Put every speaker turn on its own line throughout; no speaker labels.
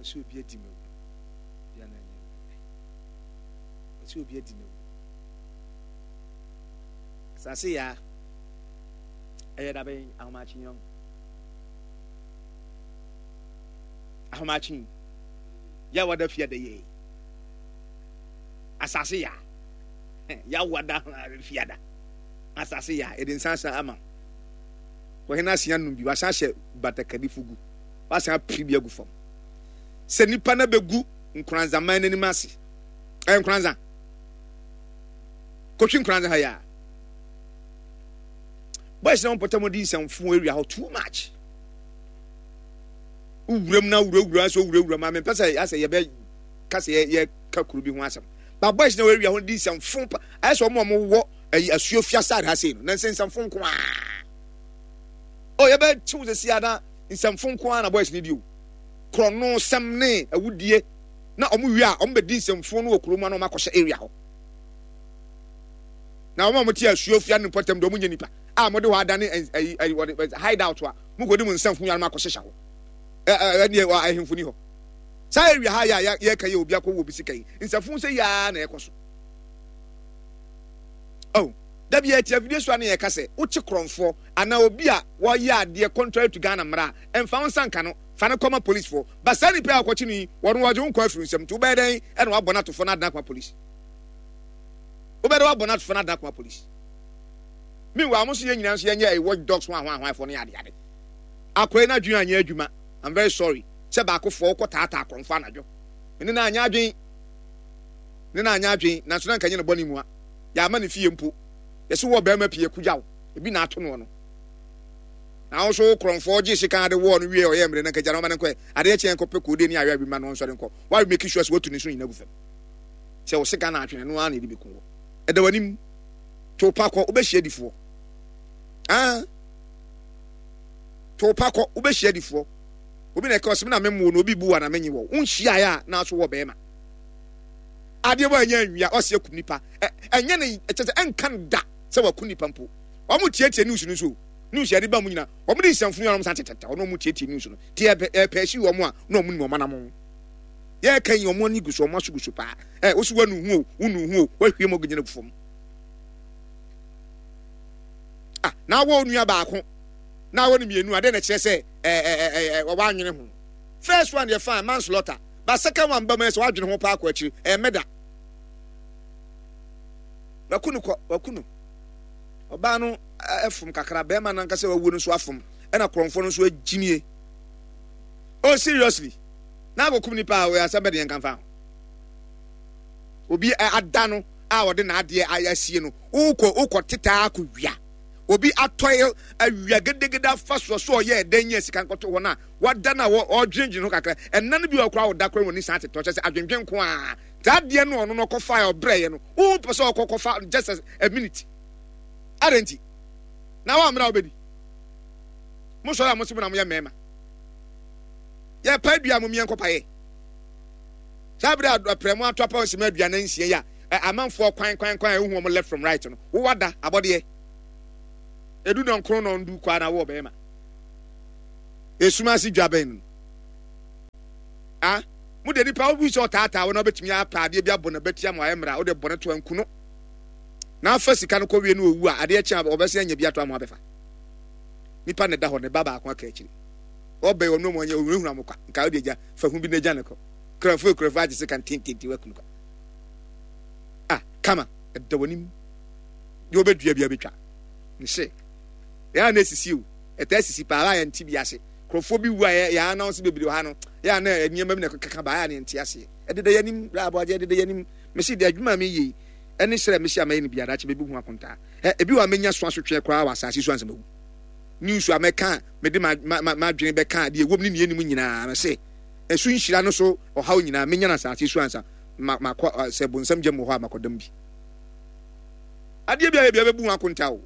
Ɔsɛ obi adi me wu. Bia na ɛnyɛ. Ɔsɛ obi adi ne wu. Asase yaa. Ɛyɛ dabɛn ahomakye yɔn. Ahomakye. Yɛ wada fie da yɛ. Asase yaa. Yɛ wada fie da. Asase yaa. Yɛde nsa asa ama. Wɔhene asia num bi. Wasan ahyɛ batakari fugu. Wasan apiri bi agu fam. Sɛ nipa na bɛgu nkoranzaman n'anim ase. Ɛyɛ nkoranza. Kotwi nkoranza ha yaa. Boys na wɔn pɔtɛ mo di nsɛmfo area hɔ too much. Wuram na wurawura so wurawura ma mempɛ sɛ asɛ yɛbɛ ka sɛ yɛ yɛ ka kuro bi ho asɛm. Ba boys na area hɔ di nsɛmfo pa. Ayɛ sɛ wɔn a wɔwɔ ayi asuo fia side ha sei no na nsɛmfo nko ara. Oh yɛbɛ kyew sɛ sia na nsɛmfo nko ara na boys ne di o. Korɔno sɛm ne awudie na wɔn wie a wɔn bɛdi nsɛmfo no wɔ kurom na wɔn akɔhyɛ area hɔ. Na wɔn a wɔte asuo fia ne mpɔtam deɛ wɔn nyɛ nipa a wɔde hɔ adane ɛyi ɛyi wɔde hide out a mo kɔ di mo nsɛmfo yɛn akɔhyehyɛ hɔ. Ɛ ɛ ɛdeɛ ahemfo ni hɔ. Saa area ha yɛ a yɛka yɛ obi akɔ wɔ obi sika yi nsɛmfo sɛ yaa na ɛkɔ so. Oh, da bi yɛte afidie so a na yɛka sɛ wokye korɔmfoɔ anaa obi a wɔyɛ adeɛ contrary to Ghana mmara a ɛmfa wo nsa nka no fa no kɔma policefoɔ ba saa nipa a wɔkɔkye no yi wɔn wɔgye wo nkwa afiri nsam nti wobɛyɛ dɛn ɛna wabɔ no atofoɔ no adena akoma police wobɛyɛ dɛ wabɔ no atofoɔ no adena akoma police meanwhile mo nso yɛn nyinaa nso yɛnyɛ ɛyɛ watch dogs ho ahoahoafoɔ no yɛ adeade akɔɛ no adwene anyɛ adwuma I'm very sorry sɛ baakofoɔ wokɔ taataa korɔmfoɔ anadwo ne na anyɛ adwene ne na anyɛ adwene nanso na nka nyɛ no bɔne mua yɛama ne fie mpo yɛsɛ wɔ bɛrima pii akugya wo ebi na ato noɔ no na wo so korɔmfoɔ gye sika de wɔɔ no wie ɔyɛ mmerɛ na nka gya no ɔma no nkɔ adeɛ kyeɛ nkɔpɛ koode ne awe awi ma no ɔnsɔre nkɔ wa make sure sɛ watu ne so nyina gu fam sɛ wo sika na atwene no ara na ɛde bɛku wɔ ɛda w'anim to pa kɔ wobɛhyia difoɔ ah to pa kɔ wobɛhyia difoɔ obi na ɛka ɔsɛm na memmoɔ no obi bu wa na menye wɔ wonhyiaeɛ a na so wɔ bɛrima adeɛ bɔ ɛnyɛ anwia ɔsi akum nipa ɛnyɛ ne ɛkyɛ sɛ ɛnka no da sɛ waku nipa mpo wɔn tietie news no nso news yɛde ba mu nyina wɔn de nsɛmfunu yɛn wɔn san tetete wɔn wɔn tietie news no te ɛpɛ ɛpɛ esi wɔn a na wɔn nim wɔn anam yɛka yi wɔn ani gu so wɔn aso gu so paa ɛ wosi wɔn nu ho o wonu ho o wɔahwie mu gyina gu fam ah na awɔ onua baako na awɔ no mmienu adeɛ na kyerɛ sɛ ɛɛ ɛɛ ɛɛ wɔn anwene ho first one yɛ fine manslaughter. But second one ba mu sɛ wadwene ho paa kɔ akyiri ɛyɛ mɛda. Waku no kɔ waku no. Ɔbaa no ɛfom kakra bɛrima no ankasa wawu no nso afom ɛna korɔmfoɔ no nso agyimie. Oh seriously na akɔkum nipa a ɔyɛ asɛm bɛ deɛ nka mfa ho. Obi ada no a ɔde n'adeɛ asie no wokɔ wokɔ tetaa akɔ wia. Obi atɔe awia gedegede afa soɔ so ɔyɛ ɛdɛn nyɛ sika nkɔto hɔ no a wada no a ɔdwendwen ho kakra. Ɛnna no bi wɔ koraa ɔda koraa wɔn san tetɔ kyɛ sɛ adwendwen nko ara. Saa adeɛ no ɔno no ɔkɔfa a ɔbrɛeɛ no wopɛ sɛ ɔkɔ kɔfa just a minute. Adɛn nti? Na wammra wobɛdi. Mo sɔre a mo se mo na moyɛ mmarima. Yɛpa dua mo mmiɛ nkɔpayɛ. Saa bere a prɛmo ato apa nsɛm aduanan nsia yi a amanfoɔ kwan kwan kwan a ehu wɔn left from right no wowada abɔdeɛ. Edu nɔnkron nɔndu kɔ na wɔ bɛrima. Esum ase dwa bɛn no. Ah, mo de nipa wo sɛ ɔtaataa wo na wobɛtumi apɛ adeɛ bi abɔ n'abati ama wayɛ mmara wode bɔne to anku no na afa sika no kɔwie no owu a adeɛ kye a ɔbɛsɛ anya bi ato ama abɛfa nipa na ɛda hɔ ne ba baako aka akyiri ɔbɛn ɔno mu ɔnyɛ ɔhunahuna mo kwa nka wode agya fa hu bi na agya ne kɔ kurafo kurafo agye sika ntentente wakunu kwa ah kama ɛda w'anim deɛ wobɛdua bi abɛtwa ne se yɛa na esisi o ɛtaa sisi paa a yɛnte bi ase. Nkurɔfoɔ bi wu a yɛ announce bebree wɔ ha no, yɛ a na nneɛma bi na ɛkeka ba a na yɛnte aseɛ. Ɛdeda yɛn anim, bra aboagye ɛdeda yɛn anim. Mese deɛ adwuma a meyɛ yi, ɛne srɛ mese a mɛyɛ no biara, daakye bɛbu ho akontaa. Ɛ, ebi wɔ a mɛnya so asotweɛ koraa wɔ asase so ansa mawu. News a mɛka a mede m'adwene bɛka deɛ ɛwom ne deɛ ɛnnim nyinaa, mese ɛso nhyira no so ɔhaw nyinaa mɛnya no asase so ansa makɔ, sɛ bonsam gyam wɔ hɔ a makɔdam bi. Adeɛ bi a yɛ biara bɛbu ho akontaa o.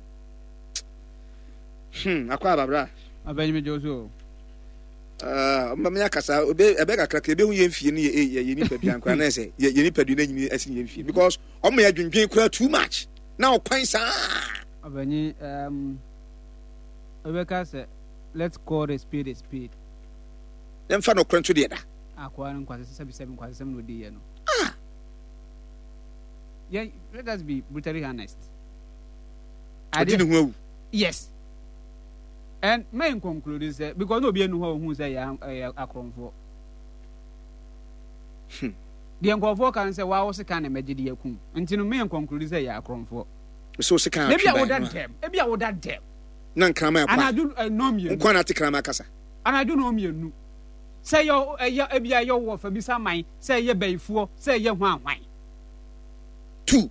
Hmm, akɔ aba bra.
Abɛnyi mi jɔ so.
Ah, ɔma mi akasa ebe ɛbɛ kakra ka ebe hu yɛn fie no yɛ yɛ yɛ nipa dua nkora na ɛsɛ yɛ yɛ nipa dua na nyini ɛsi yɛn fie because ɔmo yɛ dwendwen kora too much na ɔkwan saa.
Abɛnyi um, ebe ka sɛ let's call a spade a spade.
Yɛmfa nɔkorɛ nto deɛ da.
Akoa no nkwasasɛm sɛbisɛbi nkwasasɛm na odi yɛ no.
Ah!
Yeah, let us be brutally honest.
Ɔdi ne ho awu.
Yes. And may conclude sɛ because na obi enu hɔ ohun sɛ yɛ ɛyɛ akorɔmfoɔ. Deɛ nkurɔfoɔ ka no sɛ waa wo sekan na mɛgye de akum nti no may conclude sɛ yɛ akorɔmfoɔ.
So sekan atwe
ban. Ebi a woda dɛm. Ebi a woda dɛm.
Na nkraman akwa.
Anadwo nnɔnmienu.
Nkwa na ate kraman kasa.
Anadwo nnɔnmienu. Sɛ ɛyɛ ɛyɛ ebi a ɛyɛ wɔ fa bisa man, sɛ ɛyɛ bayifoɔ, sɛ ɛyɛ hwan hwan.
Tu.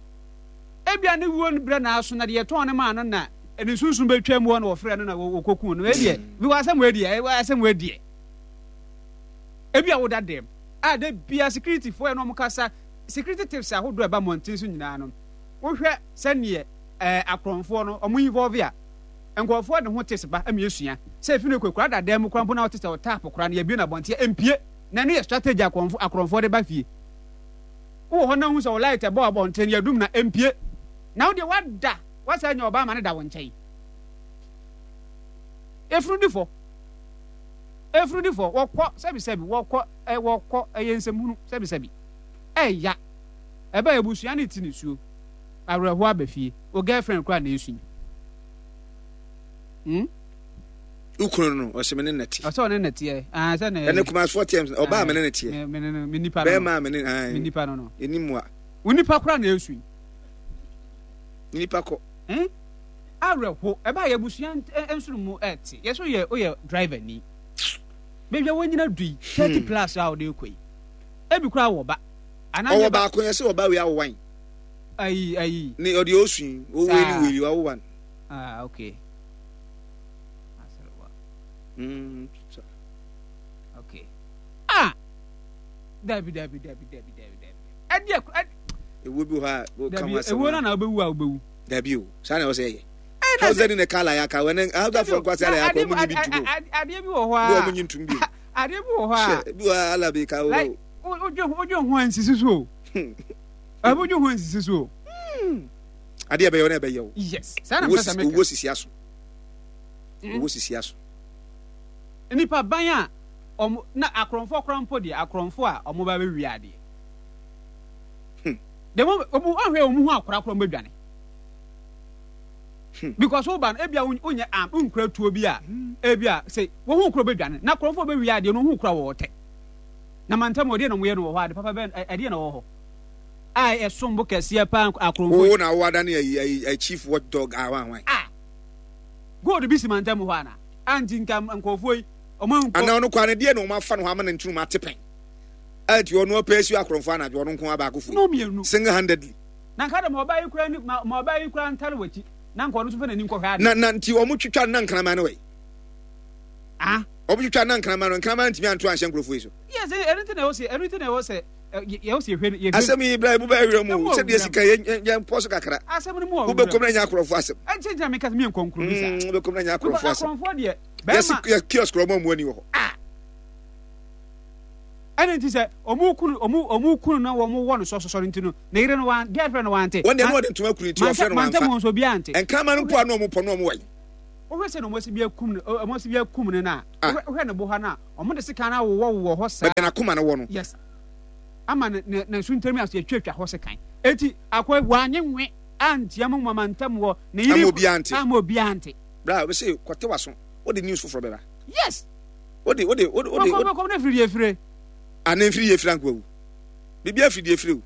Ebi a ne wuo no berɛ na aso na deɛ yɛtɔn no maa no na ne sunsum bɛtwa mu hɔ na wɔfrɛ no na wɔkɔku no. Ebi bi wɔ asɛm wei deɛ, asɛm wei deɛ. Ebi a woda dɛm a da bia security foɔ yɛ na wɔn kasa security tips ahodoɔ ɛba mmɔnten so nyinaa no wohwɛ sɛneɛ ɛɛ akorɔmfoɔ no wɔn involve a Nkurɔfoɔ de ho tips ba ma yɛsua. Sɛ efi no kɔ akura dadan mu koraa mpo na wote sɛ ɔtap koraa no yɛabue no abɔnten a, ɛmpue. Na ɛno yɛ strategy a akorɔmfo akorɔmfoɔ de ba fie. Wowɔ hɔ na wohu sɛ wo light ɛbɔ abɔnten no yɛadum no a, ɛmpue. Na wo deɛ woada, woasan anya ɔbaa ma no da wo nkyɛn. Efunu di fɔ. Efunu di fɔ. Wɔkɔ sɛbisɛbi, wɔkɔ ɛ wɔkɔ ɛyɛ nsɛmhunu sɛbisɛbi. Ɛya. Ɛbɛ abusua no ti nisuo. Awerɛhoɔ aba fie. Wo girlfriend koraa na esu yi. Hmm?
Wo kunu no, ɔsɛ me ne na te.
Ɔsɛ ɔne na teɛ. Ah, sɛ na.
Ɛne kumasoɔ teɛ, ɔbaa me ne na teɛ.
Me ne no, me nipa no.
Bɛrima me ne, ah.
Me nipa no no.
Ɛni mua.
Wo nipa koraa na esu yi.
Nipa kɔ.
Hmm? Awerɛho, ɛbaa yɛ abusua nsono mu ɛte. Yɛ so yɛ, oyɛ driver ni. Baabi a wɔnyina du yi, 30 plus a ɔde kɔ yi. Ebi koraa wɔ ba.
Ɔwɔ baako yɛ sɛ ɔba wei awowan.
Ayi ayi.
Ne ɔde osu yi, o weli weli wa wan.
Ah okay. Asrewa.
So.
Okay. Ah. Dabi dabi dabi dabi dabi dabi. Ɛdi ɛkura.
Ewu bi hɔ a o ka ho asɛm.
Ewu na na obewu a obewu.
Dabi o, saa na ɔsɛ yɛ. Hausa ni na kala ya ka wɛnɛ Hausa fɔ nkwasi ala ya ka ɔmu nyi bi ntum o.
Adeɛ bi wɔ hɔ a.
Bi ɔmu nyi ntum bi o.
Adeɛ bi wɔ hɔ a.
Bi wɔ ala bi ka o.
Like o dwe ho ansisi so o. Ɛbo dwe ho nsisi so o.
Hmm. Adeɛ ɛbɛyɛ wo na ɛbɛyɛ wo.
Yes. Saa na mpɛ sɛ meka.
Owuo sisi aso. Hmm. Owuo sisi aso.
Nipa ban a ɔmo na akorɔmfoɔ koraa mpo deɛ akorɔmfoɔ a ɔmo ba bɛwie adeɛ.
Hmm.
The moment ɔmo ahwɛ ɔmo ho akora koraa ɔmo bɛdwane.
Hmm.
Because wo ba no ebia wonyɛ arm wonkura tuo bi a hmm. ebia sɛ wɔn ho kura bɛdwane na akorɔmfoɔ bɛwie adeɛ no ho kura wɔ ɔtɛ. Na mantam ɛdeɛ na ɔmo yɛ no wɔ hɔ ade papa bɛn ɛdeɛ na wɔ hɔ. A ɛsom bo kɛseɛ paa akorɔmfoɔ.
Wo na wo adane ayi ayi ayi chief watch dog a wan wan.
Ah gold bi si mantam hɔ ana? A nti nka nkurɔfoɔ yi ɔmo ankɔ.
Ana ɔno koraa no deɛ na ɔmo afa no hɔ ama ne nturum ate pɛn. A nti ɔno ɔpɛ asi akorɔmfoɔ anadwo ɔno nko ara baako fo yi single handedly.
Na nka de ma ɔbaa yi koraa ni ma ma ɔbaa yi koraa ntare w'akyi na nka ɔno nso fa n'ani nkɔhwɛ adeɛ.
Na na nti ɔmo twitwa no na nkraman no wɔ yi.
Ah.
Ɔmo twitwa no na nkraman no nkraman ntumi anto anhyɛ nkurɔfoɔ yi so.
Yes ɛno nti na ɛwɔ sɛ ɛno nti na ɛwɔ sɛ.
Asɛm yi bra emu bɛyɛ werɛ mu sɛdeɛ sika yɛn pɔ so kakra. Wobɛkɔm na nya akorɔmfoɔ asɛm. Wobɛkɔm na nya akorɔmfoɔ asɛm. Yɛsi yɛ kiosk ɔmo amu ani wɔ hɔ.
Ɛna nti sɛ ɔmo kunu ɔmo ɔmo kunu na wɔn wɔ no sɔsɔsɔ no nti no ne yere no wan girlfriend no wante.
Wɔn deɛ no wɔde ntoma kunu nti ɔfrɛ no wanfa.
Mantam wɔn nso obiara nte.
Nkraman no mpo a na ɔmo pɔ no ɔmo wɔ yi.
Wohwɛ sɛ na ɔmo asi bi akum no ɔmo asi bi akum no na wohwɛ ne bo ha na ɔmo de sekan awowɔ wowɔ hɔ saa.
Baabi a n'akoma no wɔ no.
Yes. Ama ne ne ne nso ntɛm ase atwatwa hɔ sekan. Eti akɔ wanye nwe antia mu mama ntam wɔ ne yere.
Ama obiara nte.
Ama obiara nte.
Bra bɛ se kɔte waso. Wode news foforɔ bɛba.
Yes.
Wode wode wode wode.
Kɔkɔ kɔkɔ ne firi deɛ fire.
Ah ne mfiri deɛ fire anko awu. Biribi afiri deɛ fire o.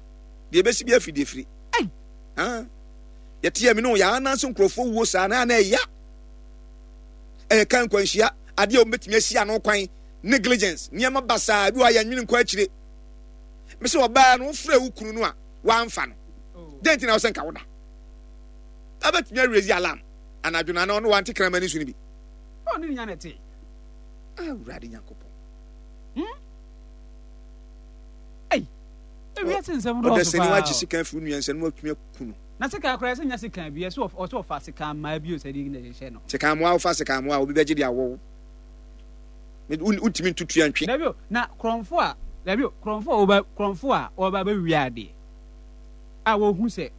Deɛ ebesi bi afiri deɛ fire.
Ei.
Ah. Yɛte yɛ me no yɛ ananso nkurɔfoɔ wuo saa na na ɛya. Ɛyɛ kan nkwanhyia adeɛ a wɔbɛtumi asi ano kwan negligence nneɛma basaa bi wɔ a yɛnwene nkɔ akyire. Me sɛ ɔbaa no wofrɛ wo kunu no a wamfa no. Dɛn nti na wosɛ nka woda? Abɛtumi awurezi alarm anadwo no ana ɔno wante kraman ne su no bi.
Ɔne nya na ɛte.
Awurade Nyankopɔn.
Hmm? Ei, ewiase nsɛm dɔɔso paa.
Ɔdasani wagye sika afiri wo nua nsa no watumi aku no.
Na sekan koraa ɛsɛ nya sekan bi ɛsɛ ɔsɛ ɔfa sekan mmaa bi o sɛ de na ɛhyehyɛ no.
Sekan mmoa wofa sekan mmoa obi bɛgye de awɔ wo. Wontumi ntutu antwe.
Dabi o na korɔmfo a dabi o korɔmfo a ɔba korɔmfo a ɔba bɛwia adeɛ a wɔhu sɛ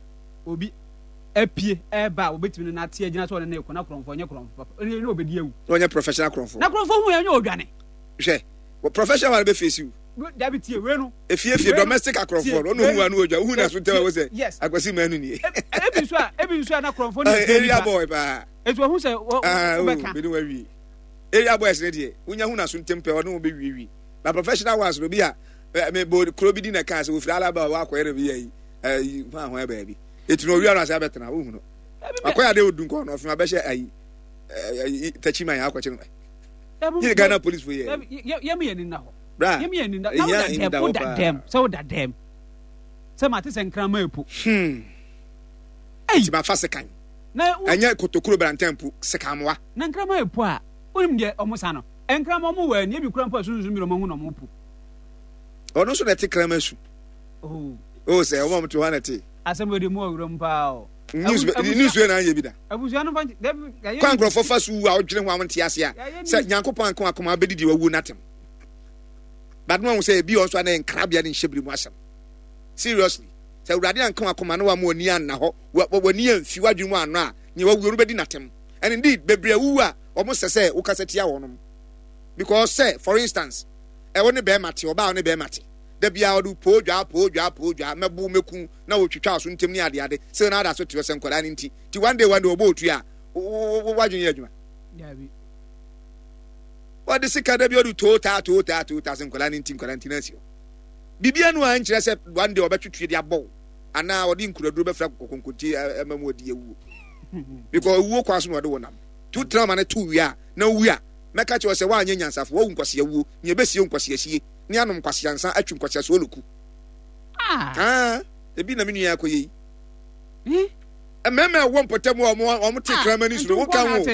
obi apue ɛreba a wɔbɛtumi no nate agyina sɛ ɔne ne kɔ na korɔmfo ɔnyɛ korɔmfo papa ɛne ɔbɛdi awu.
Na ɔnyɛ professional korɔmfo.
Na korɔmfo hu yɛ nyɛ ɔdwane.
Hwɛ professional one bɛ face you.
Dabi tie wei no.
Efie fie domestic akorɔmfoɔ no ɔno hu ano odwa wohu na so ntɛm a sɛ akwasi manu nie.
Ebi nso a ebi nso a na korɔmfoɔ no
yɛ area boy paa.
Etu ohun sɛ wobɛka.
Bɛni wawie. Area boys ne deɛ wonya hu na so ntɛm pɛ ɔne wo bɛwie wie. Na professional ones no bi a me bo kuro bi di na kaa sɛ ofiri alaba a wakɔyɛ no bi yɛ yi ɛyi hwan hwan baabi. Etu na owia no ase abɛtena wohu no. Akɔyɛ ade odu nkɔ no ɔfin abɛhyɛ ayi ɛyi takyi man akɔkye no. Yɛ Ghana police fo yɛ.
Yɛ mi yɛ ni na hɔ.
Bra.
Yɛ mi yɛ ni na na woda dɛm woda dɛm sɛ woda dɛm sɛ ma te sɛ nkraman epo.
Hmm. Ɛyi. Ti ma fa sekan. Na ɛnyɛ kotokuro brantan mpo sekanmoa.
Na nkraman epo a wonim deɛ ɔmo sa no nkraman ɔmo wɔ ani ebi kura mpo a sunsun bi na ɔmo ahu na ɔmo po.
Ɔno nso na ɛte kraman su.
Oh.
Oh sɛ ɔmo a ɔmo te hɔ na ɛte.
Asɛm wɔ de mu wɔ wuram paa o.
News news wei na anyɛ bi da.
Abusua no fa dabi.
Kwan nkurɔfoɔ fa so wu a wodwene ho a wonte ase a sɛ Nyankopɔn anka wakoma wobɛdi deɛ wawu no atem. But no ahu sɛ ebi ɔnso a na nkrabea ne nhyɛbere mu asɛm. Seriously, sɛ Awurade anka wakoma na wama w'ani anna hɔ, w'ani amfi w'adwene mu annɔ a, nea wawu no bɛdi n'atem. And indeed, bebree awuwu a wɔn sɛ sɛ wokasa tia wɔnom. Because sɛ, for instance, ɛwo ne bɛrima te, ɔbaa wo ne bɛrima te. Da biara ɔde poo dwaa, poo dwaa, poo dwaa, mɛbo, mɛku, na wɔtwitwa so ntɛm ne adeade, sɛ na ada so te hɔ sɛ nkwadaa no nti. Ti one day one day ɔbɔ otua a, w'adwene yɛ adwuma. Wɔde sika da bi ɔde too taa too taa too taa sɛ nkwadaa no nti nkwadaa nti na asi hɔ. Biribi anu a nkyerɛ sɛ one day ɔbɛtwe tue de abɔ wo anaa ɔde nkuraduro bɛfra kɔkɔnkɔnti ɛma mu ɔde awuo. Because owuo kwan so na ɔde wo nam. Tu tena ma no to wie a na owu a mɛka kyerɛ sɛ woanyɛ nyansafo wawu nkwasea wuo nea ɛbɛsie nkwasea sie ne anom nkwasea nsa atwi nkwasea sooloku. Ah, ebi na me nua akɔyɛ yi. Mmarima a ɛwɔ mpɔtam a wɔn te kraman su no woka ho.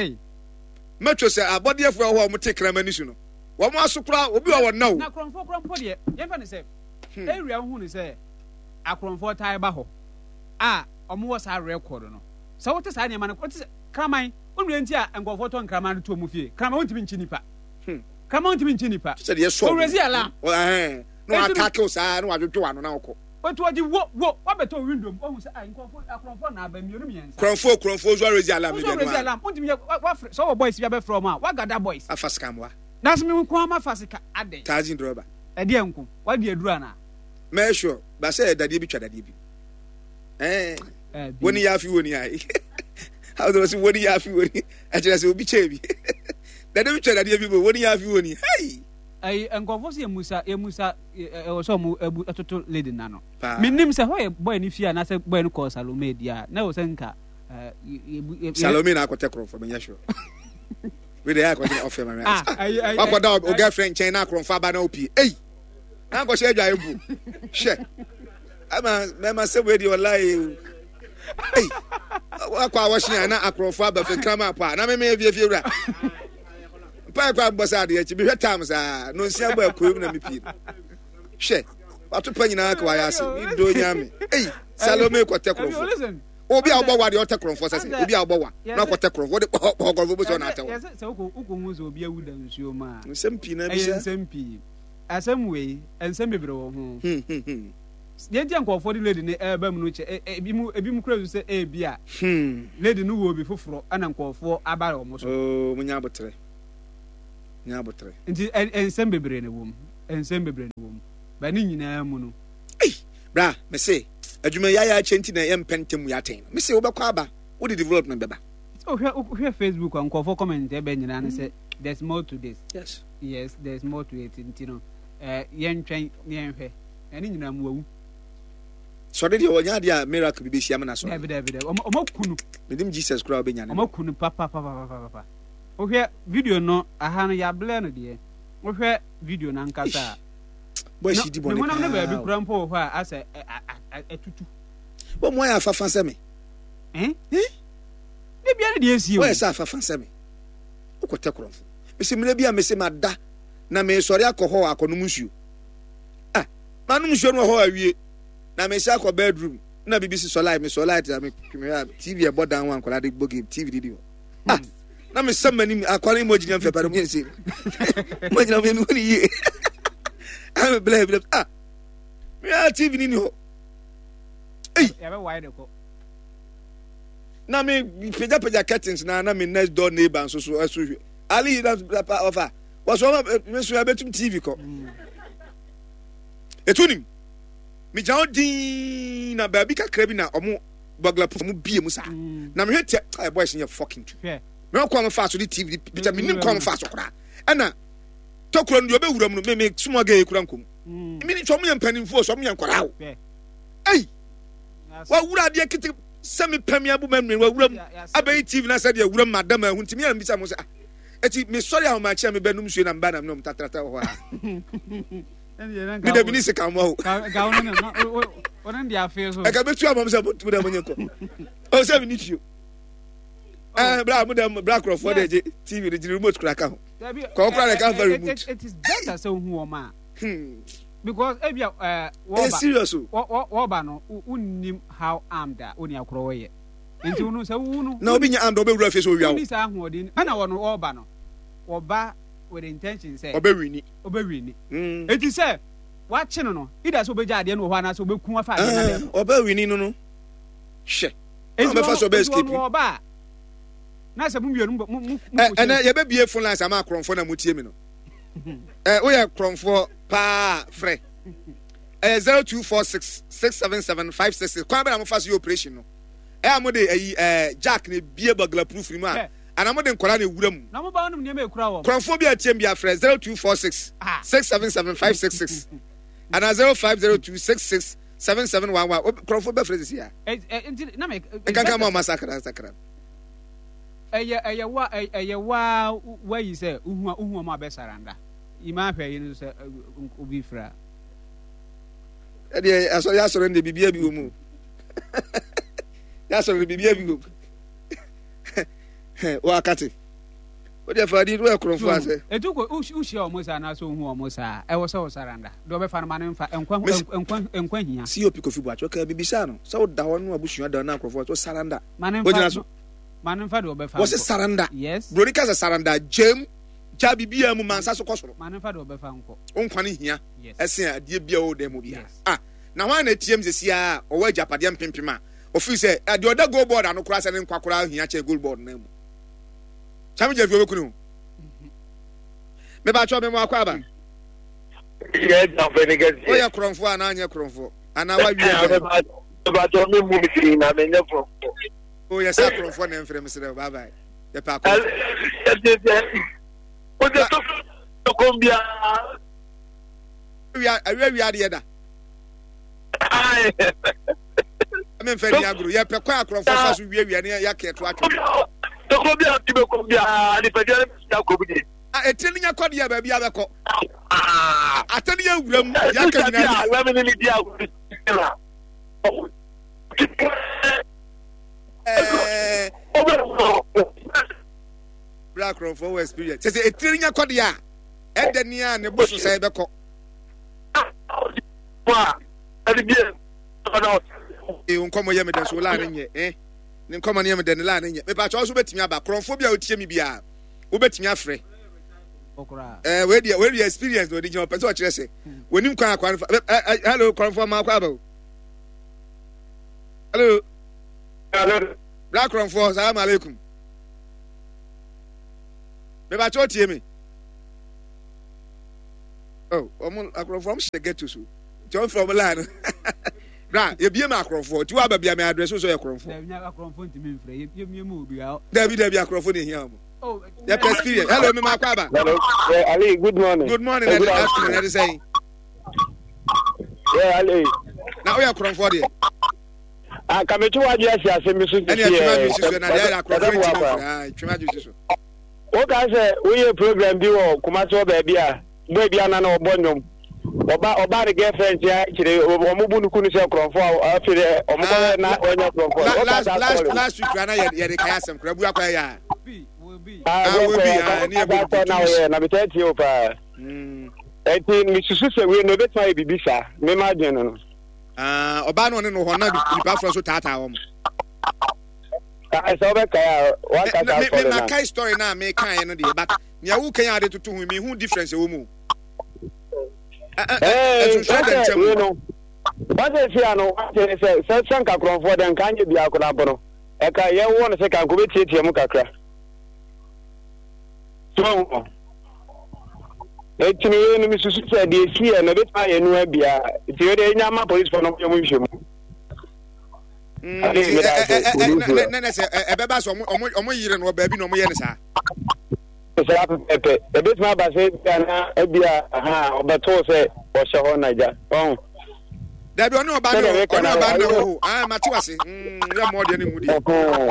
Mɛtwo sɛ abɔdeɛfoɔ ɛwɔ hɔ a wɔn te kraman su no wɔn aso koraa obi wɔ wɔn na o.
Na akorɔmfoɔ koraa mpo deɛ yɛmfa no sɛ area wohu no sɛ akorɔmfoɔ taa ba hɔ a wɔn wɔ saa record no sɛ wote saa nneɛma no wote sɛ kraman wonua nti a nkurɔfoɔ tɔ nkraman no to wɔn fie kraman wontumi nkyi nipa kraman wontumi nkyi nipa
sɛ deɛ sɔ
owurɛsi alarm
na watake wo saa na wadwodwo w'ano na wokɔ.
Otu ɔgye wo wo wabɛtɔ window mu wahu sɛ ai nkurɔfo akorɔmfoɔ na aba mmienu mmiɛnsa.
Korɔmfoɔ korɔmfoɔ nso arezi alarm ne
deɛ
no
ara. Alarm wontumi yɛ wafrɛ sɛ ɔwɔ boys bi abɛfrɛ wɔn a wagada boys.
Afa sika mmoa.
Nanso me nko ara mafa sika adɛn.
Taxi driver.
Ɛdeɛ nko wadi aduru anaa.
Mɛyɛ sure ba sɛ dadeɛ bi twa dadeɛ bi ɛɛ woni yɛ afi woni ayi awosɛ wɔsi woni yɛ afi woni ɛkyerɛ sɛ obi kyɛɛ bi dadeɛ bi twa dadeɛ bi bo woni yɛ afi woni hei.
Ɛyi nkurɔfoɔ sɛ yɛmusa yɛmusa ɛwɔ sɛ ɔmo ɛbu ɛtoto lady na no. Menim sɛ hɔ yɛ boy no fie anaasɛ boy no kɔɔ Salome di a na ɛwɔ sɛ nka
ɛɛ Salome na akɔtɛ korɔmfoɔ menyɛ sure. Wei de ɛyɛ akɔtɛ ɔfɛ ma mi. Wakɔda o girlfriend nkyɛn na akorɔmfoɔ aba na opie. Ei na akɔhyɛ adwa ebu hwɛ ama mɛma sɛ wei deɛ ɔla yi ei wakɔ a wɔhyɛ a na akorɔmfoɔ aba fɛ nkraman apɔ a na mɛmɛ fie fie wura. Mpae kɔ abɔ sɛ adeɛ akyi mehwɛ tam saa no nsia bɔ akuro mu na mepie no hwɛ wato pa nyinaa ka wayɛ ase medo nyame ei Salome kɔtɛ korɔmfoɔ obi a wobɔ wa deɛ ɔtɛ korɔmfoɔ sɛ sɛ obi a wobɔ wa na ɔkɔtɛ korɔmfoɔ wode kɔhɔ korɔmfoɔ bɛsɛ ɔna atɛ wɔ
sɛ wokɔhu sɛ obi awu da nsuo mu a
nsɛm pii na bisa
nsɛm pii asɛm wei nsɛm bebree wɔ ho deɛ nti a nkurɔfoɔ de lady no ɛreba mu no kyɛ ebi mu ebi mu kura su sɛ ebi a lady no wɔ obi foforɔ ɛna nkurɔfoɔ aba wɔn so.
Oo mo nya abotrɛ nya abotrɛ.
Nti nsɛm bebree na ɛwɔ mu nsɛm bebree na ɛwɔ mu ba ne nyinaa mu no.
Ei bra me se adwuma yi ayɛ akyɛ nti na yɛmpɛ ntɛm mu yɛ atɛn no me se wobɛkɔ aba wode development bɛba.
Wohwɛ wohwɛ Facebook a nkurɔfoɔ comment ɛbɛ nyinaa no sɛ there's more to this.
Yes.
Yes there's more to it nti no ɛɛ yɛntwɛn na yɛnhwɛ. Na ne nyinaa mu wawu.
Sɔre deɛ ɔnyɛ adeɛ a miracle bi bɛsi ama no asɔre.
Dabi dabi dabi ɔmo ɔmo aku no.
Menim Jesus koraa ɔbɛnya ne.
Ɔmo aku no papapapapapa. Wohwɛ video no aha no yɛablɛ no deɛ. Wohwɛ video no ankasa a.
Boys yi di bɔne
paa. Ne honam no baabi
kura
mpo wɔ hɔ a asɛ atutu.
Wɔn mu ayɛ afafa sɛ me.
Eh? Eh? Ne bia ne deɛ esie o.
Wɔyɛ sɛ afafa sɛ me. Wokɔtɛ korɔmfo. Mesi mmerɛ bi a mesi mada na mesɔre akɔ hɔ akɔnom nsuo. Ah, manom nsuo no wɔ hɔ awie na mehyɛ akɔ bedroom na biribi si sɔ light mesɔ light a mehwɛ a tv ɛbɔ dan ho a nkwadaa de bɔ game tv didi hɔ ah na mesɛ m'anim akwara yi mu agyina mfɛ pare mu yɛ nsɛ mu agyina mu yɛ mehu ne yie ah me blɛ blɛ ah mehwɛ a tv ni ni hɔ ei na me pagyapagya curtains na na me next door neighbor nso so ɛso hwɛ ali na ɔfa wɔsɔ ɔma me so yɛbɛtum tv kɔ. Mm. Etu nim. Megyina hɔ dinn na baabi kakra bi na ɔmo burglar proof ɔmo bie mu saa. Mm. Na mehwɛ tia ɛ boys yɛ fucking tu. Mehwɛ kwan mo fa so de TV picture me nim kwan mo fa so koraa. Ɛna tokuro no deɛ ɔbɛwura mu no me me small girl kura nkom. Mm. Me sɛ ɔmo yɛ mpanimfoɔ sɛ ɔmo yɛ nkwadaa o. Ei wawura adeɛ kete sɛ me pɛ me abu ma nua wawura mu abɛyi TV na sɛ deɛ wura mu madam ahu ntumi yɛn bisa mo sɛ ah eti mesɔre ahomakye a mebɛnum nsuo na meba na me nom tatrata wɔ hɔ a. mi dɛbi ni sika mɔ o. Ɛka bɛ tu ama mi sɛ mo dɛ mo nye nkɔ. O sɛ mi ni tuo. Ɛɛ bra mo dɛ bra kurɔfoɔ dɛ gye TV de gye remote kura ka ho. Kɔɔ kura de ka nfa remote.
It is better sɛ ohun wɔn a. Because ebi a ɛɛ
wɔba. Serious o.
Wɔba no wunnim how armed a oni akorɔ wɔyɛ. Nti wunu sɛ wunu.
Na obi nya armed ɔbɛ wura fie sɛ owia o.
Wuni saa ahoɔden ɛna wɔn wɔba no wɔba with intention sɛ.
Ɔbɛ wini.
ɔbɛwini. Mm. Eti sɛ wakye no no, either sɛ ɔbɛgya adeɛ no wɔ hɔ anaasɛ ɔbɛku afa adeɛ no adeɛ.
Eh, ɔbɛwini no no. Hwɛ. Eti ɔbɛfa so ɔbɛ escape.
Eti ɔba a, na sɛ mo mmienu mo mo mo.
Eh, ɛnɛ yɛbɛbie phone lines ama akorɔmfoɔ na motie mi no. Ɛ woyɛ korɔmfoɔ paa frɛ. Ɛyɛ 0246 677 566 kwan bɛ na mofa so yɛ operation no. Ɛyɛ a mode ayi ɛɛ jack na ebie burglar proof ni mu a. Anaa mode nkwadaa na ewura mu.
Na mo ba nom nneɛma ekura wɔn.
Korɔmfoɔ bi a ɛteam bi afrɛ 0246 677 566 anaa 0502 66 7711. Korɔmfoɔ bɛfrɛ sisi a.
Nti na me.
Nkankan ma ɔma sakra sakra.
Ɛyɛ ɛyɛ wa ɛyɛ wa wayi sɛ uhu uhu ɔmo abɛ saranda. Ima ahwɛ yi no sɛ obi fira.
Ɛdeɛ asɔre asɔre no deɛ biribiara bi wɔ mu. Yasɔre no biribiara bi wɔ mu. Wakate. Wodeɛ fa adi woyɛ korɔmfoɔ asɛ.
Etu kɔ wohyia wɔn saa anaasɛ wohu wɔn saa ɛwɔ sɛ wosaranda deɛ ɔbɛfa no ma no mfa nkwa nkwa nkwa hia.
COP Kofi Boakye ɔkaa bibisaa no sɛ woda hɔ no abusua da no nkurɔfoɔ sɛ saranda.
Ma no mfa so. Ma no mfa deɛ ɔbɛfa
nkɔ. Wɔse saranda.
Yes.
Broni ka sɛ saranda gyam gya biribiara mu ma nsa so kɔ soro.
Ma no mfa deɛ ɔbɛfa nkɔ.
Wo nkwa no hia ɛsen adeɛ biara wɔ dan mu biara. Ah na hwan na atiam sɛsi a ɔwɔ agyapadeɛ mpempem a Ɔfiri sɛ, eh, deɛ ɔda gold board ano koraa sɛ ne nkwa koraa hia kyɛn gold board no mu. Sami Gyamfi ɔbɛku ne ho. Mebakyɛ me mo akɔ aba. Woyɛ korɔmfoɔ anaa anyɛ korɔmfoɔ? Anaa wawie adwan?
Mebakyɛ me mu me na menyɛ korɔmfoɔ.
O yɛ sɛ akorɔmfoɔ na ɛmfrɛ mesrɛ wo bye bye. Yɛpɛ akorɔmfoɔ. Awia wia adeɛ da. Memfa ni agoro. Yɛpɛ kwan akorɔmfoɔ fa so wiawia ne yɛaka ɛto atwe.
Tokuro bi a ti bɛkɔ biara nipadua no bɛsi akɔ mu die.
Etire no nya kɔ deɛ baabi a bɛkɔ. Atɛ no yɛ wura mu yɛaka nyinaa.
Wura mu ne ne di agoro na.
Bra akorɔmfoɔ wɔ experience. Sɛ sɛ etire no nya kɔ deɛ a ɛdɛ nea ne bo so sɛ ɛbɛkɔ. Ee, wo nkɔmmɔ yɛ me dɛ so wo laa ne nyɛ eh ne nkɔmmɔ no yɛ me dɛ ne laa ne nyɛ mepa kyɛw so wobɛtumi aba korɔmfoɔ bi a wotie me biara wobɛtumi afrɛ eh wei deɛ wei deɛ experience na ɔde gyina ɔpɛ sɛ ɔkyerɛ sɛ wɔnim kwan akwan fa eh, eh, hello korɔmfoɔ ma akɔ aba o hello bra korɔmfoɔ salaam alaikum mepa kyɛw tie me oh wɔn akorɔmfoɔ wɔn hyɛ ghetto so nti wɔn fɛ wɔn line no bra yɛbie ma akorɔmfoɔ nti wɔaba bia mɛ address so yɛ korɔmfoɔ dabi dabi akorɔmfoɔ na ehia wɔn oh, yɛpɛ experience hello mi ma akɔ aba.
hello yeah, Ali good morning.
good morning ɛdi afternoon ɛdi sɛn.
yeah Ali.
na oyɛ korɔmfoɔ deɛ.
Ah, kàmi tí wàá di ɛsi ase mi so
ti
fi
ɛ. ɛni ɛtwema ju si so na deɛ ayɛ akorɔmfoɔ ti mi fira ɛtwema ju si so.
Woka sɛ woyɛ program bi wɔ Kumasi hɔ baabi a boy bi ana na ɔbɔ nnwom. Ɔba ɔbaa ne girlfriend nkyɛn akyire wɔn bu no ku no sɛ korɔmfo a afei dɛ wɔn kɔhwɛ na ɔnyɛ korɔmfo. Woka
saa story. Last week kura na yɛ yɛde kae asɛm kura bu akɔ yɛ a.
Ah, bu akɔ yɛ a. Woka saa story na ɔyɛ na metaa tie o paa. Ɛnti mesusu sɛ wei no ebetumi ayɛ biribi saa mema adwene no no.
Ɔbaa no ɔne no hɔ na nipa afɔ so taataa wɔn.
Sɛ wobɛkae a wanka saa story
no. Makae story no a mekaeɛ no deɛ but nea woka yi ade toto ho mehu difference ɛwɔ mu. Ɛnso da nkyɛn
mu. Wɔsɛ si ano wɔsɛ sɛ sɛ sɛ nka korɔmfoɔ dɛ nka nyɛ biako na mpo no ɛka yɛwɔ no sɛ ka nka wobɛtiatia mu kakra. So. Eti no wei no mesusu sɛ deɛ ɛsiiɛ no ɛbɛtumi ayɛ nua biara. Nti wei deɛ ɛnya ma polisifoɔ no wɔyɛ mu nhwɛmu.
Ne ne sɛ ɛbɛba sɛ ɔmo yere no wɔ baabi na ɔmo yɛ no saa.
Saa pɛpɛpɛ ɛbɛtumi aba sɛ ebia na ebia ha ɔbɛtoo sɛ ɔhyɛ hɔ na gya ɔn.
Dabi ɔne ɔba ne ɔne ɔba ne wɔ hɔ ah mate wase yɛ mmɔ deɛ ne mu deɛ.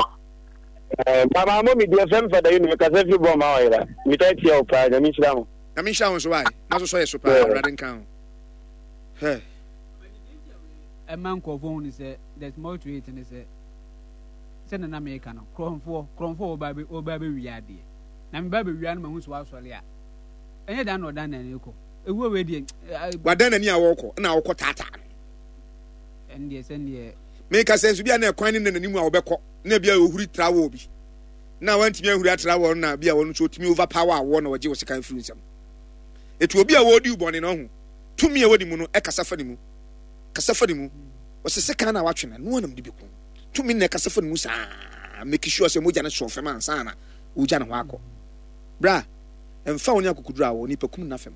Mama mo mi deɛ fɛm fada yi no mekasa firi bɔ ma ɔyera metaa tia wo paa nyame nhyira ho.
Nyame nhyira wo nso wae na so sɔ yɛ so paa awurade nka ho. Hɛ.
Ɛma nkurɔfoɔ hu ne sɛ there's more to it ne sɛ sɛ nana meka no korɔmfoɔ korɔmfoɔ wɔba bɛ wɔba bɛwia adeɛ na meba bɛwia no mahu sɛ wasɔre a ɛnyɛ dan na ɔdan n'ani kɔ ewuo wei deɛ.
Wadan n'ani a wɔkɔ na wɔkɔ taataa no.
Ɛndeɛ sɛndeɛ.
Meka sɛ nso bi a na ɛkwan ne na n'anim a wɔbɛkɔ na bi a ohuri tra wɔ bi na wantumi ahuri atra wɔ na bi a wɔn nso otumi overpower awɔ na wɔgye wɔ sekan firi nsam. Etu obi a wɔredi bɔne no ho tumi a ɛwɔ ne mu no ɛkasa fa ne mu kasa fa ne mu wɔsɛ sekan na watwe na noa nam de bi ko tumi na ɛkasa fa ne mu saa make sure sɛ mogya no sɔɔ fam ansa na wogya ne ho akɔ bra mfa wo ne akokoduru a wɔ nipa kum na fam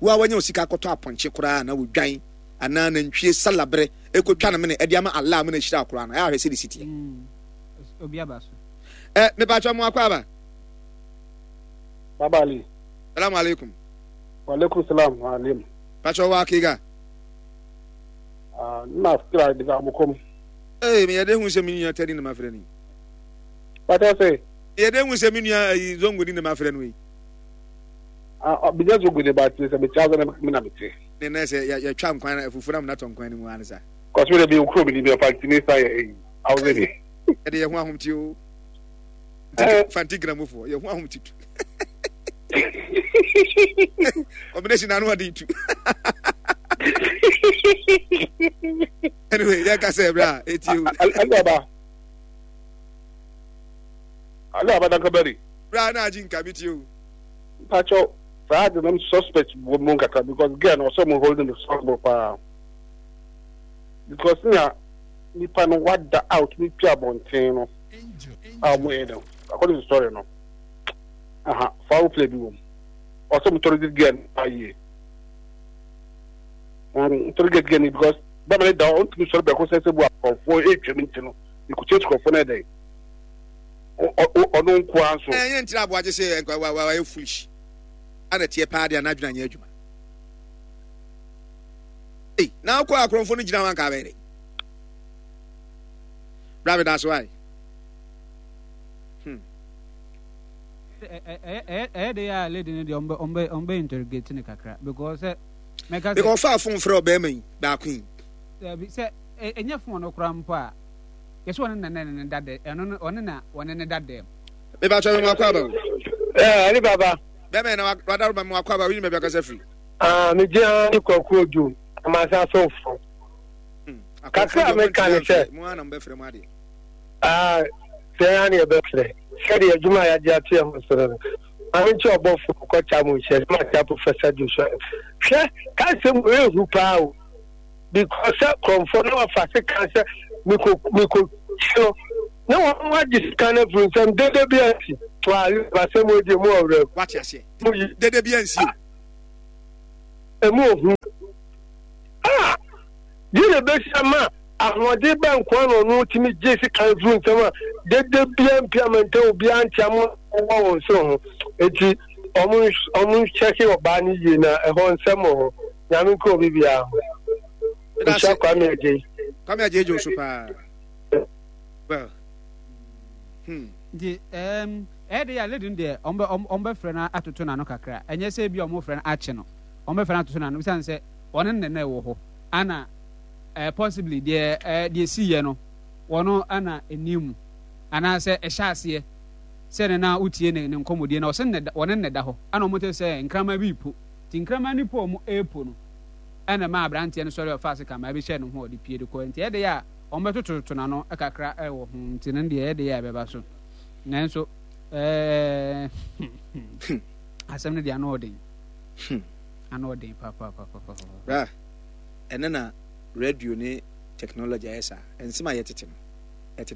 wo a wanya osika akɔtɔ apɔnkye koraa na wodwan anaa nantwie salabere ɛkɔtwa no mene ɛde ama Allah mene ahyira koraa no ɛyɛ ahwɛ sɛ de si teɛ mm,
obi aba so
ɛ mepatwa mo akɔ aba.
Baba Ali.
Salamu alaikum.
Wa alaikum salam alim.
Patwa wa kega.
Ah, na kira daga abukom.
Eh, me yɛde hu sɛ me nua tani na mafrɛ no yi.
Patwa sɛ.
Yɛde hu sɛ me nua ayi zongo ni na mafrɛ no yi.
Ah, bi nyɛ zongo ni ba ti sɛ me kyɛ na me na me te.
Ne na sɛ yɛtwa nkwan na fufu na mo natɔ nkwan no mu ansa.
Kɔsumi de bi okuro mi ni bi ɔfa ntini sa yɛ eyi. Awuze ni.
Yɛde yɛ ho ahomte o. Fanti gramofoɔ yɛ ho ahomte tu. Combination na ano ɔden tu. Anyway, yɛ kasa ɛbrɛ a eti o.
Ali aba. Ali aba dankabari.
Bra na agye nka mi ti o.
Mpacho saa de nam suspect wɔ mu nkakra because girl no ɔsɛ mo holding responsible paa because nea nipa no wada out ne pia abɔnten no a wɔn yɛ no according to story no aha foul play bi wɔ mu ɔsɛ mo tɔrɔ this girl no yie tɔrɔ get girl no because bɛma ne da ɔntumi sɔrɔ bɛko sɛ sɛ bu akɔfoɔ etwam nti no ekutie sukɔfoɔ no ɛdɛn ɔno nkoa nso.
Ɛyɛ ntira aboagye sɛ nkwa wa wa yɛ foolish ana teɛ paa de anadwene anyɛ adwuma. Ei, na akɔ akorɔmfo no gyina hɔ anka abɛyɛ dɛ. Bra meda so ai.
Hmm. Ɛyɛ de a lady no deɛ ɔmbɛ ɔmbɛ interrogate no kakra because sɛ
mɛka sɛ. Because ɔfaa phone frɛ ɔbɛrima yi baako yi.
Dabi sɛ ɛnyɛ phone no koraa mpo a yɛsɛ ɔne na ne ne da dɛ ɛno no ɔne na ɔne ne da dɛm.
Meba kyɛ mo akɔ aba o.
Ɛɛ ali baba.
Bɛmɛ na wadaro ma mo akɔ aba wini baabi akasa firi.
Ah me gyina ne kwaku odu amasa asomfo.
Hmm,
Kakra a meka ne sɛ.
Mo ana mo bɛfrɛ mo adeɛ.
Ah sɛ yɛn ana yɛbɛfrɛ sɛdeɛ adwuma a yɛagye ato yɛn ho so no no. Maame nkyɛ ɔbɔfo kɔkya mo nhyɛ sɛ makyɛ Professor Joshua. Hwɛ kasɛm ehu paa o. Because sɛ kurɔmfoɔ na wafa sekan sɛ mekɔ mekɔ kyi no na wɔn agye sekan no afiri nsam dede bi ansi wa asɛm wɔ die mu ɔwerɛ mu.
Wate aseɛ dede bi ansi o.
Emu ohu a deɛ na ebesi ama ahoɔden bɛn nkoa na ɔno tumi gye sekan firi nsam a dede bia mpi amantam obiara nte ama wɔ wɔn so ho eti wɔn wɔn nkyɛke ɔbaa no yie na ɛhɔ nsɛm wɔ hɔ. Nyame nka obi biara ho. Nhyira Kwame Adjei.
Kwame Adjei gye wo so paa. Well.
Hmm. Nti ɛɛm ɛyɛ de yɛ lady no deɛ ɔmo bɛ ɔmo bɛfrɛ no atoto n'ano kakra ɛnyɛ sɛ ebi a ɔmo frɛ no akye no ɔmo bɛfrɛ no atoto n'ano esan sɛ ɔne ne na ɛwɔ hɔ ana ɛɛ possibly deɛ ɛɛ deɛ si yɛ no wɔn ana ɛni mu anaasɛ ɛhyɛ aseɛ sɛ ne na wotie ne ne nkɔmɔdie na ɔsɛ ne wɔne ne da hɔ ana ɔmo te sɛ nkraman bi po. Nti nkraman no po a wɔrepo no na ɛmaa aberanteɛ no sɔre a ɔfaa sekammaa bi hyɛɛ ne ho a ɔde pue de kɔeɛ. Nti ɛyɛ dɛ a wɔbɛtotototo n'ano kakra wɔ ho nti no deɛ ɛyɛ dɛ a ɛbɛba so. Nanso ɛɛ asɛm no deɛ ano ɔden. Ano ɔden papaapapapa.
Bra, ɛnɛ na radio ne technology ayɛ saa. Nsɛm a yɛtete no.